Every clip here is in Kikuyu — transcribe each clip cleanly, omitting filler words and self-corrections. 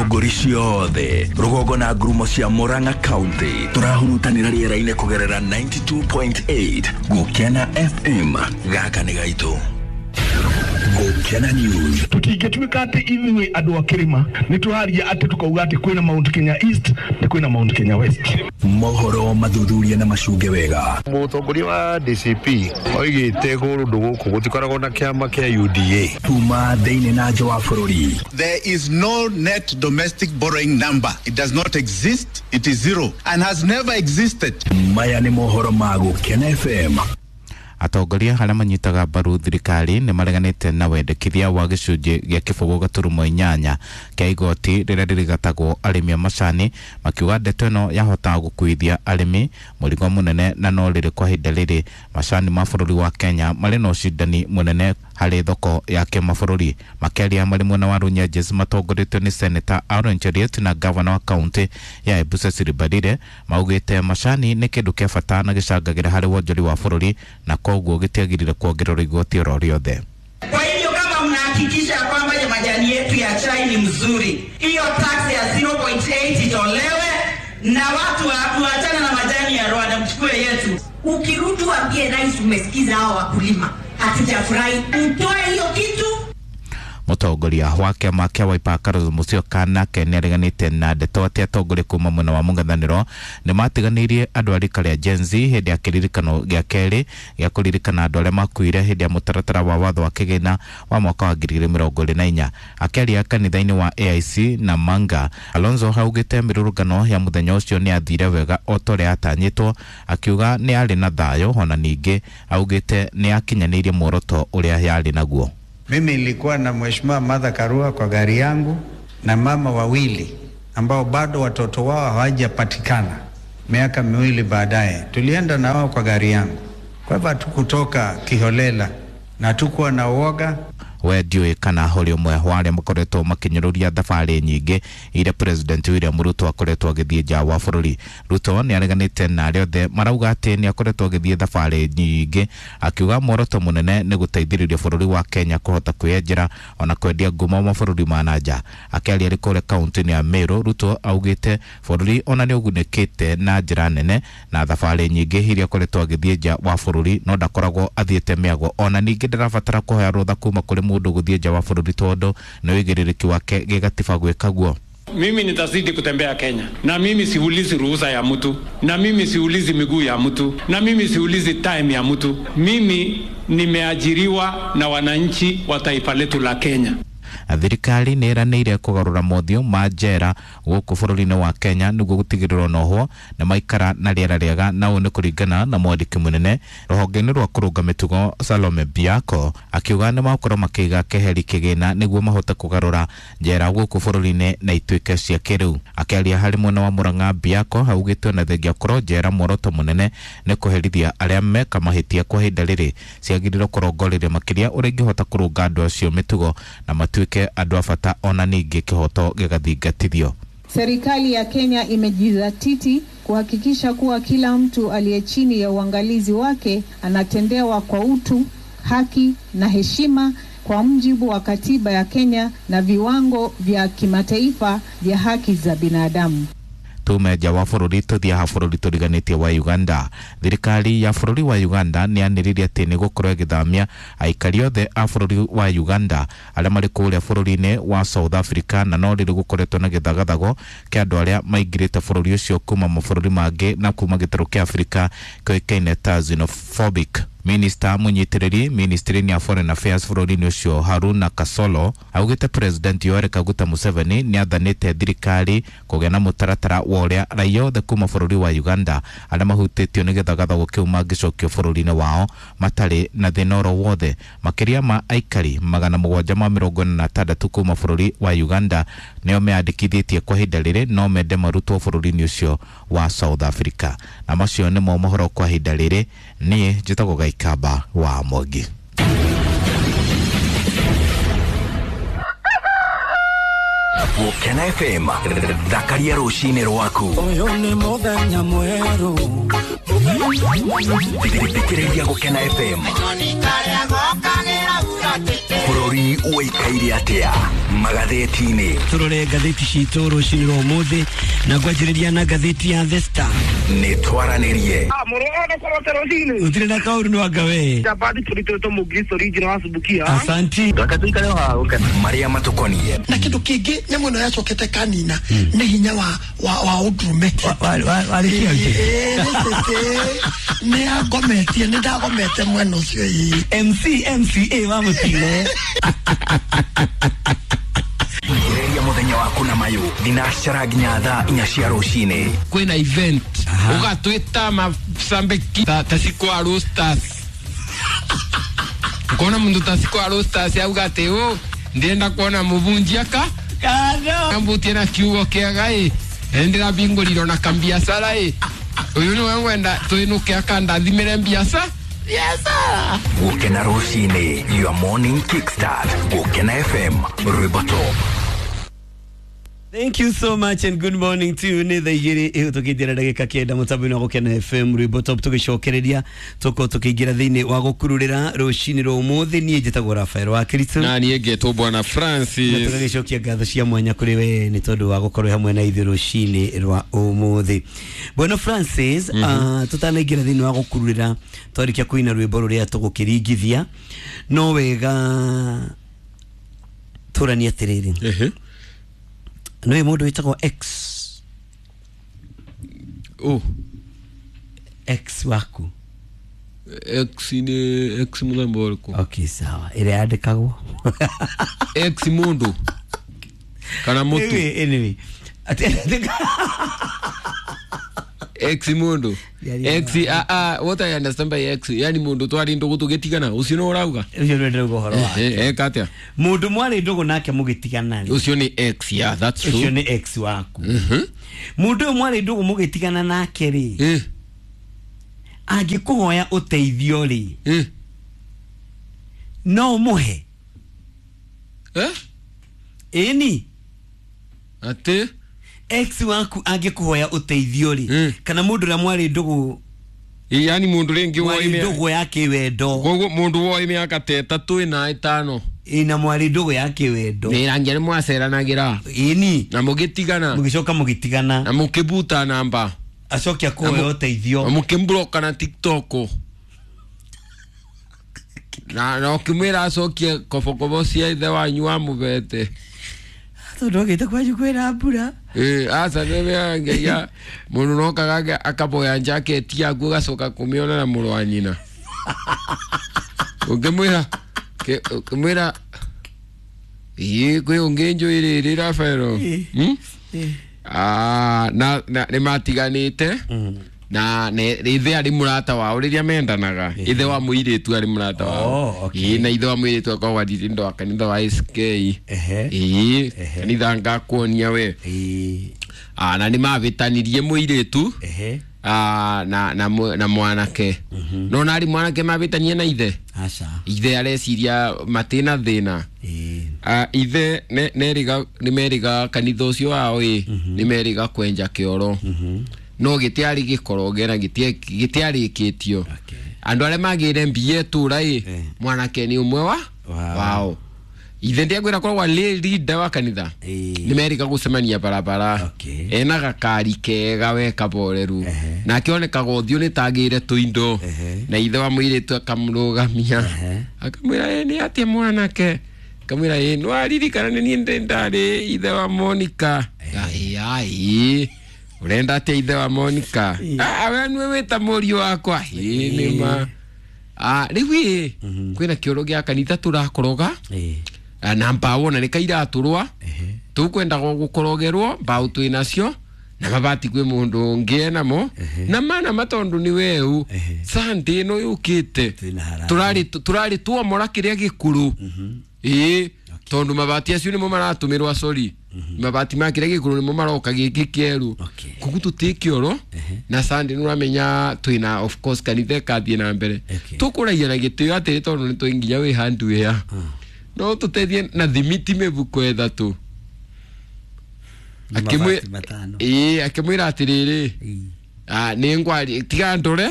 Ithũngũri ciothe rũgongo na ngurumo cia Murang'a County tũrahurutanĩra rĩera-inĩ kũgerera 92.8 Gũkena FM. Gaka nĩ gaitũ. Gũkena News. Tutingĩtuĩka atĩ ithuĩ andũ a kĩrĩma nĩ tũraria atĩ tũkauga atĩ kwĩna Mount Kenya East na kwĩna Mount Kenya West. Mohoro mathuthuria na macunge wega. Mũtongoria wa DCP oigĩte kũndũ gũkũ gũtikoragwo na kĩama kĩa UDA. Kuma thĩinĩ na nja wa bũrũri. There is no net domestic borrowing number. It does not exist. It is zero and has never existed. Maya nĩ mohoro ma Gũkena FM. Atongoria arĩa manyitaga mbaru thirikari nĩ mareganĩte na wendekithia wa gĩcunjĩ gĩa 0.8 kĩa igoti rĩrĩa rĩrĩgatagwo arĩmi a macani, makiuga ndeto ĩno yahota gũkuithia arĩmi mũrigo mũnene, na no rĩrĩ kwa ihinda rĩrĩ macani ma bũrũri wa Kenya marĩ na ũcindani mũnene harĩ thoko ya kĩmabũrũri. Makĩaria marĩ mwena wa Runyenjes matongoretio nĩ Senator Aaron Cheruiyot na gavana wa kaunti ya Embu Cecily Mbarire, maugĩte macani nĩ kĩndũ kĩa bata na gĩcangagĩra harĩ wonjori wa bũrũri na koguo gĩtiagĩrĩire kuongererwo igoti oro rĩothe. Kwa hivyo kama mnahakikisha kwamba majani yetu ya chai ni mzuri, hiyo tax ya 0.8 itolewe na watu waachane na majani ya Rwanda, mchukue yetu. Ukirudi waambie rais umesikiza hao wakulima, hatujafurahi, mtoe hiyo kitu. Mũtongoria wa kĩama kĩa Wiper Kalonzo Musyoka nake nĩareganĩte na ndeto atĩ atongoria kuma mwena wa mũng'ethanĩro nĩmatiganĩirie andũ a rika rĩa Gen Z hĩndĩ ya kĩririkano gĩa kerĩ gĩa kũririkana andũ arĩa makuire hĩndĩ ya mũtaratara wa watho wa kĩgĩna wa mwaka wa 2024. Akĩaria kanitha-inĩ wa AIC na Manga, Kalonzo augĩte mĩrũrũngano ya mũthenya ũcio nĩ yathire wega o ta ũrĩa yatanyĩtwo, akiuga nĩ arĩ na thayũ, ona ningĩ augĩte nĩ akinyanĩirie muoroto ũrĩa yarĩ naguo. Mimi nilikuwa na Mheshimiwa Martha Karua kwa gari yangu na mama wawili ambao bado watoto wao hawajapatikana. Miaka miwili baadaye tulienda na wao kwa gari yangu. Kwa hivyo hatukutoka kiholela na hatukuwa na uoga. We ndiũĩ kana ũrĩ ũmwe wa arĩa makoretwo makĩnyũrũria thabarĩ nyingĩ iria President William Ruto akoretwo agĩthiĩ nja wa bũrũri. Ruto nĩ areganĩte na arĩa othe marauga atĩ nĩ akoretwo agĩthiĩ thabarĩ nyingĩ, akiuga muoroto mũnene nĩ gũteithĩrĩria bũrũri wa Kenya kũhota kwĩyenjera ona kwendia ngumo mabũrũri ma na nja. Akĩaria arĩ kũrĩa kaunti-inĩ ya Meru, Ruto augĩte bũrũri ona nĩ ũgunĩkĩte na njĩra nene na thabarĩ nyingĩ iria akoretwo agĩthiĩ nja wa bũrũri, no ndakoragwo athiĩte mĩago, ona ningĩ ndarabatara kũhoya rũtha kuma kũrĩ mũndũ gũthiĩ nja wa bũrũri tondũ nĩ ũigĩrĩrĩki wake gĩgatiba gwĩka guo. Mimi nitazidi kutembea Kenya, na mimi siulizi ruhusa ya mtu, na mimi siulizi miguu ya mtu, na mimi siulizi time ya mtu. Mimi nimeajiriwa na wananchi wa taifa letu la Kenya. Thirikari nĩ ĩranĩire kũgarũra mothiũ ma njera gũkũ bũrũri-inĩ wa Kenya nĩguo gũtigĩrĩrwo nohwo nĩ maikara na rĩera rĩega, na ũũ nĩ kũringana na mwandĩki mũnene rũhonge-inĩ rwa kũrũnga mĩtugo Salome Biako, akiuga nĩ magũkorwo makĩiga keheri kĩgĩna nĩguo mahote kũgarũra njera gũkũ bũrũri-inĩ na ituĩke cia kĩrĩu. Akĩaria harĩ mwena wa Murang'a, Biako augĩte ona thengia gũkorwo njera muoroto mũnene nĩ kũherithia arĩa meka mahĩtia kwa ihinda rĩrĩ, ciagĩrĩirwo kũrongoreria makĩria ũrĩa ingĩhota kũrũnga andũ acio mĩtugo na matuĩke andũ a bata, ona ningĩ kĩhoto gĩgathingatithio. Serikali ya Kenya imejizatiti kuhakikisha kuwa kila mtu aliye chini ya uangalizi wake anatendewa kwa utu, haki na heshima kwa mujibu wa katiba ya Kenya na viwango vya kimataifa vya haki za binadamu. Tume nja wa bũrũri tũthiaga bũrũri tũriganĩtie wa Uganda. Thirikari ya bũrũri wa Uganda nĩ yanĩrĩire atĩ nĩ gũkorwo ĩgĩthamia aikari othe a bũrũri wa Uganda arĩa marĩ kũrĩa bũrũri-inĩ wa South Africa, na no rĩrĩ gũkoretwo na gĩthagathago kĩa andũ arĩa maingĩrĩte bũrũri ũcio kuma mabũrũri mangĩ na kuma gĩtarũ kĩa Afrika kĩoĩkaine ta xenophobic. Minister mũnyitĩrĩri ministry-inĩ ya Foreign Affairs bũrũri-inĩ ũcio Haruna Kasolo augĩte President Yoweri Kaguta Museveni nĩ athanĩte thirikari kũgĩa na mũtaratara wa ũrĩa raia othe kuma bũrũri wa Uganda arĩa mahutĩtio nĩ gĩthagathago kĩu mangĩcokio bũrũri-inĩ wao matarĩ na thĩna oro wothe. Makĩria ma aikari 746 kuma bũrũri wa Uganda nĩo meyandĩkithĩtie kwa ihinda rĩrĩ no mende marutwo bũrũri-inĩ ũcio wa South Africa. Na macio nĩmo mohoro kwa ihinda rĩrĩ. Niĩ njĩtagwo Gaikaba wa Mwangi. Gũkena FM, thakaria rũcinĩ rwaku. Ũyũ nĩ mũthenya mwerũ. Thikĩrĩria Gũkena FM. Bũrũri ũikaire atĩa magathĩti-inĩ? Turore ngathĩti citũ rũcinĩ rwa ũmũthĩ na ngwanjĩrĩria na ngathĩti ya The Star. Nĩ twaranĩrie. Gũtirĩ na kaũru nĩ wanga we. Asanti. Marĩa matũkoniĩ. Na kĩndũ kĩngĩ nyamũ ĩno yacokete kanina nĩ hinya wa wa ũndũrũme. Nĩ angometie, nĩ ndagomete mwena ũcio ĩĩ. MC MCA wa mũtino. Ria mũthenya waku na mayũ thinacara nginya thaa 4 cia rũcinĩ. Kwĩna event ũgatwĩta macambĩki ta Sikwa Roasters. Ukona mundu ta Sikwa Roasters auga atĩ ũ ndĩrenda kuona mũbunjia ka mbutie na kiugo kĩega ĩ ndĩrabingũrirwo na kambiacara ĩ ũyũ nĩwe ngwenda twĩnũke akandathimĩre mbiaca. Gũkena rũcinĩ, your morning kickstart. Gũkena FM, rwĩmbo top. Thank you so much and good morning to you. Nĩ thaa igĩrĩ ĩhĩtũkĩtie na ndagĩka 9 mũtambo-inĩ wa Gũkena FM rwĩmbo top tũgĩcokereria tũkorwo tũkĩingĩra thĩinĩ wa gũkururĩra rũcinĩ rwa ũmũthĩ. Niĩ njĩtagwo Rafael wa Kristo na niĩ ngetwo Bwana Francis, na tũgagĩcokia ngatho cia mwanya kũrĩ we nĩ tondũ wa gũkorwo hamwe na ithuĩ rũcinĩ rwa ũmũthĩ. Bwana Francis, tũtanaingĩra thĩinĩ wa gũkururĩra twarĩkia kũina rwĩmbo rũrĩa tũgũkĩringithia, no wega tũranie atĩrĩrĩ. Nĩ mũndũ wĩtagwo X. Oh. X waku. X nĩ X mũthemba ũrĩkũ? Okay, sawa. Ĩrĩa yandĩkagwo. X mũndũ kana mũtu? Anyway. X mũndũ. X what I understand by X, yani mũndũ twarĩ ndũgũ tũgĩtigana, ũcio nĩ ũrauga? Ũcio nĩ ndĩrauga ũhoro wake. Eka atĩa? Mũndũ mwarĩ ndũgũ nake mũgĩtigana rĩ. Ũcio nĩ X, yeah, that's true. Ũcio nĩ X waku. Mũndũ ũyũ mwarĩ ndũgũ mũgĩtigana nake rĩ. Angĩkũhoya ũteithio rĩ. No ũmũhe. Ĩni. Atĩ? Ex waku angĩkũhoya ũteithio rĩ, kana mũndũ ũrĩa mwarĩ ndũgũ, yani mũndũ rĩngĩ mwarĩ ndũgũ ya kĩwendo, koguo mũndũ woĩ mĩaka ta 3 na 5 ĩna mwarĩ ndũgũ ya kĩwendo, nĩrangia nĩ mwaceranagĩra, ĩni, na mũgĩtigana, mũgĩcoka mũgĩtigana, na mũkĩbuta namba, acoke akũhoya ũteithio, na mũkĩmbloka na TikTok, na ũkĩmwĩra acokie kobokobo cia ithe wanyu wa mũbete. Tondũ agĩte kwanyu kwĩna mbura. Aca nĩngeia mũndũ nokaga akaboya njaketi yaku ũgacoka kũmĩona na mũrũ wa nyina. Ũngĩmwĩra ũngĩmwĩra ĩĩ kwĩ ũngĩ njũĩ rĩrĩ Rafaelo. Na nĩ matiganĩte na ithe arĩ mũrata wao rĩrĩa mendanaga, ithe wa mũirĩtu arĩ mũrata wao. Ĩĩ na ithe wa mũirĩtu akoragwo arĩ ndo wa kanitha wa SK. Ĩĩ kanitha ngakuonia we. Na nĩ mabĩtanirie mũirĩtu na mwanake. No na arĩ mwanake mabĩtanie na ithe. Aca. Ithe areciria matĩna thĩna. Ithe nĩ meriga kanitha ũcio wao ĩ nĩ meriga kwenja kĩoro. No gĩtiarĩ gĩkoroge na gĩtiarĩkĩtio. Andũ arĩa magĩire mbia itũra ĩ mwanake nĩ ũmwe wa wao. Ithe ndiakwĩra koragwo arĩ leader wa kanitha. Nĩ meriga gũcemania barabara. Ena gakari kega we kaboreru. Nake onekaga ũthiũ nĩ tagĩire tũindo. Na ithe wa mũirĩtu akamũrũgamia. Akamwĩra nĩ atĩa mwanake? Akamwĩra nĩ waririkana nĩ niĩ ndarĩ ithe wa Monica. Ai urenda atia ithe wa Monica? We nĩwe wĩta mũriũ wakwa. Ĩĩ nĩ ma. Rĩu ĩ kwĩna kĩoro gĩa kanitha tũrakoroga na mbaũ na nĩ kairatũrwa tũkwendaga gũkorogerwo mbaũ twĩ nacio na mabati kwĩ mũndũ ũngĩ enamo na mana matondũ nĩ weu Sunday ĩno yũkĩte tũrarĩ tuomora kĩrĩa gĩkũrũ. Ĩĩ tondu mabati acio nĩmo maratũmĩrwo, sorry, mabati ma kĩrĩa gĩkũrũ nĩmo maroka gĩkĩ kĩerũ, koguo tũtĩ kĩoro na Sunday nĩ ũramenya twĩna of course kanitha ĩkathiĩ na mbere tũkũragia na gĩtĩo atĩrĩ tondũ nĩ twĩ nginya wĩ hardware no tũteithie na thimiti mĩbuko 3. Akĩmwĩra atĩrĩrĩ, nĩ ngwari tiga ndore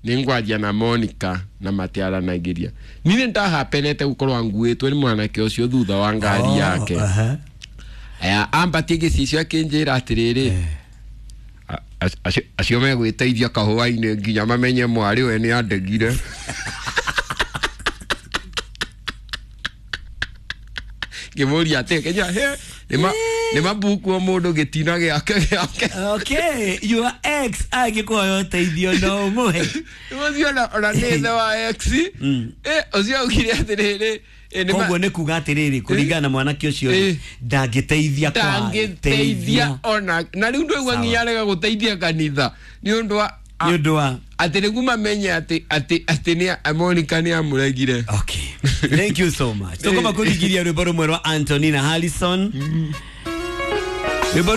Nĩ ngwaria na Monica na matiaranagĩria. Niĩ ndahapenete gũkorwo nguĩtwo nĩ mwanake ũcio thutha wa ngari yake. Aya, ambatie gĩcicio akĩnjĩra atĩrĩrĩ, acio megwĩteithia kahũa-inĩ nginya mamenye mwarĩ we nĩ andegire. Ngĩmũria atĩ kenya he nĩ mabukuo mũndũ gĩtina gĩake gĩake. Okay, your ex angĩkũhoya ũteithio no ũmũhe? Ũcio ona nĩ ithe wa ex. Ũcio augire atĩrĩrĩ, Koguo nĩ kuga atĩrĩrĩ, kũringana na mwanake ũcio rĩ, ndangĩteithia kwa ndangĩteithia ona na rĩu ndwaigua nginya arega gũteithia kanitha nĩ ũndũ wa nĩ ũndũ wa atĩ nĩguo mamenye atĩ nĩ Monica nĩ amũregire. Okay, thank you so much. Tũkoma kũringithia rwĩmbo rũmwe rwa Antonina Harrison.